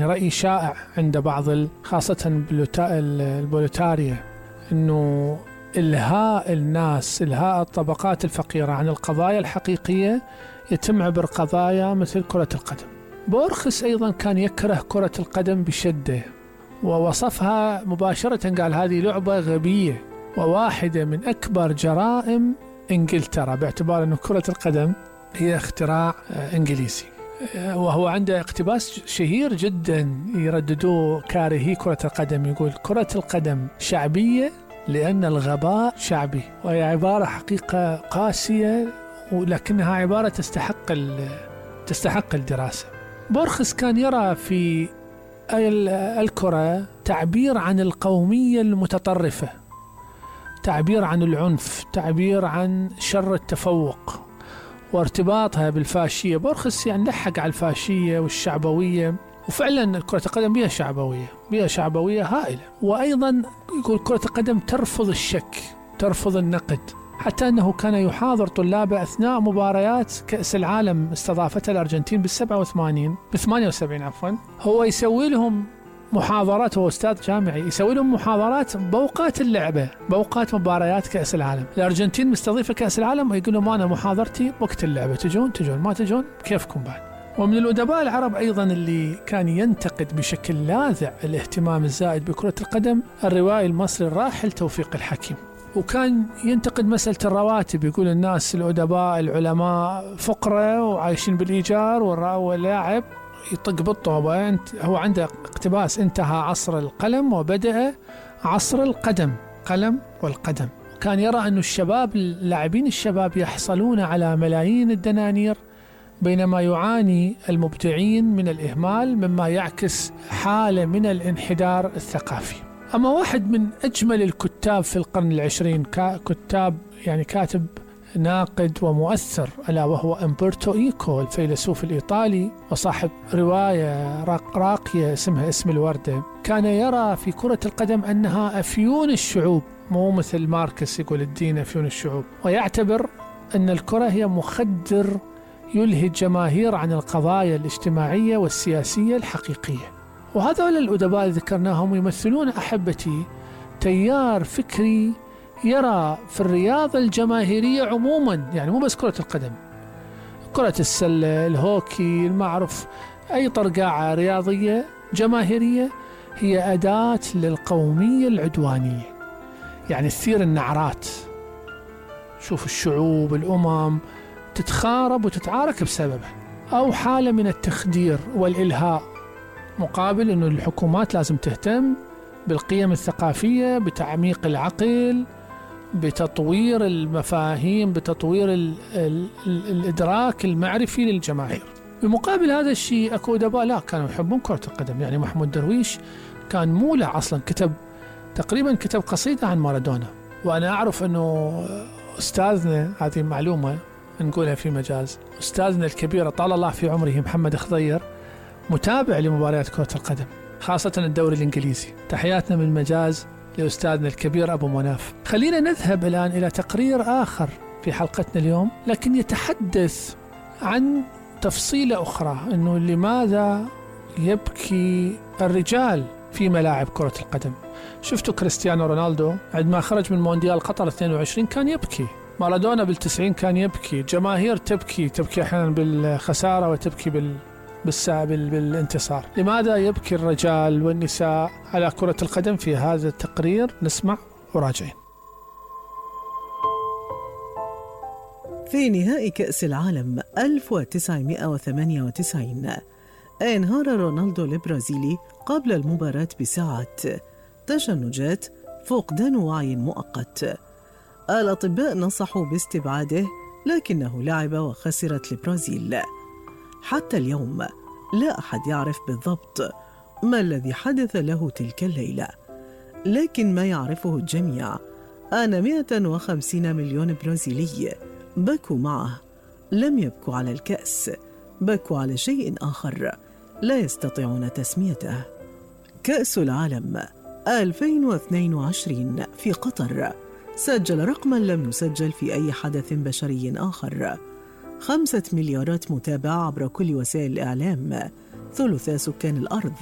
يعني رأي شائع عند بعض خاصة البوليتاريا، أنه إلهاء الناس، إلهاء الطبقات الفقيرة عن القضايا الحقيقية يتم عبر قضايا مثل كرة القدم. بورخس أيضا كان يكره كرة القدم بشدة، ووصفها مباشرة، قال هذه لعبة غبية وواحدة من أكبر جرائم إنجلترا، باعتبار أن كرة القدم هي اختراع إنجليزي. وهو عنده اقتباس شهير جدا يرددوه كارهي كرة القدم، يقول كرة القدم شعبية لأن الغباء شعبي. وهي عبارة حقيقة قاسية، ولكنها عبارة تستحق الدراسة. بورخس كان يرى في الكرة تعبير عن القومية المتطرفة، تعبير عن العنف، تعبير عن شر التفوق وارتباطها بالفاشية. بورخس يعني لحق على الفاشية والشعبوية، وفعلا كرة القدم بها شعبوية هائلة. وأيضا يقول كرة القدم ترفض الشك، ترفض النقد، حتى أنه كان يحاضر طلابه أثناء مباريات كأس العالم استضافتها الأرجنتين ب78 عفوا. هو يسوي لهم محاضرات، هو أستاذ جامعي، يسوي لهم محاضرات بأوقات اللعبة، بأوقات مباريات كأس العالم. الأرجنتين مستضيفة كأس العالم، ويقول لهم أنا محاضرتي وقت اللعبة، تجون ما تجون كيفكم بعد. ومن الأدباء العرب أيضا اللي كان ينتقد بشكل لاذع الاهتمام الزائد بكرة القدم الروائي المصري الراحل توفيق الحكيم، وكان ينتقد مسألة الرواتب، يقول الناس الأدباء العلماء فقرة وعايشين بالإيجار، واللاعب يطق بالطوبة. هو عنده اقتباس: انتهى عصر القلم وبدأ عصر القدم، قلم والقدم. كان يرى أن الشباب، اللاعبين الشباب يحصلون على ملايين الدنانير، بينما يعاني المبدعين من الإهمال، مما يعكس حالة من الانحدار الثقافي. أما واحد من أجمل الكتاب في القرن العشرين، كاتب ناقد ومؤثر، ألا وهو أمبرتو إيكو، الفيلسوف الإيطالي وصاحب رواية راقية اسمها اسم الوردة، كان يرى في كرة القدم أنها أفيون الشعوب، مو مثل ماركس يقول الدين أفيون الشعوب، ويعتبر أن الكرة هي مخدر يلهي الجماهير عن القضايا الاجتماعية والسياسية الحقيقية. وهذول الأدباء ذكرناهم يمثلون أحبتي تيار فكري يرى في الرياضة الجماهيرية عموما، يعني مو بس كرة القدم، كرة السلة، الهوكي، المعروف، أي طرقاعة رياضية جماهيرية هي أداة للقومية العدوانية، يعني تثير النعرات. شوف الشعوب، الأمم تتخارب وتتعارك بسببها، أو حالة من التخدير والإلهاء، مقابل أنه الحكومات لازم تهتم بالقيم الثقافية، بتعميق العقل، بتطوير المفاهيم، بتطوير الإدراك المعرفي للجماهير. بمقابل هذا الشيء أكو أدباء لا كانوا يحبون كرة القدم. يعني محمود درويش كان مولع أصلا، تقريبا كتب قصيدة عن مارادونا. وأنا أعرف أنه أستاذنا، هذه معلومة نقولها في مجاز، أستاذنا الكبير طال الله في عمره محمد خضير متابع لمباريات كرة القدم، خاصة الدوري الإنجليزي. تحياتنا من مجاز لأستاذنا الكبير أبو مناف. خلينا نذهب الآن إلى تقرير آخر في حلقتنا اليوم، لكن يتحدث عن تفصيلة أخرى، أنه لماذا يبكي الرجال في ملاعب كرة القدم. شفتوا كريستيانو رونالدو عندما خرج من مونديال قطر 22 كان يبكي، مارادونا بال90 كان يبكي، جماهير تبكي أحيانا بالخسارة وتبكي بالانتصار. لماذا يبكي الرجال والنساء على كرة القدم؟ في هذا التقرير نسمع وراجعين. في نهائي كأس العالم 1998 انهار رونالدو البرازيلي قبل المباراة بساعات تشنجات، فقدان وعي مؤقت. الأطباء نصحوا باستبعاده، لكنه لعب وخسرت البرازيل. حتى اليوم لا أحد يعرف بالضبط ما الذي حدث له تلك الليلة، لكن ما يعرفه الجميع أن 150 مليون برازيلي بكوا معه. لم يبكوا على الكأس، بكوا على شيء آخر لا يستطيعون تسميته. كأس العالم 2022 في قطر سجل رقما لم يسجل في أي حدث بشري آخر: 5 مليارات متابع عبر كل وسائل الإعلام، ثلث سكان الأرض.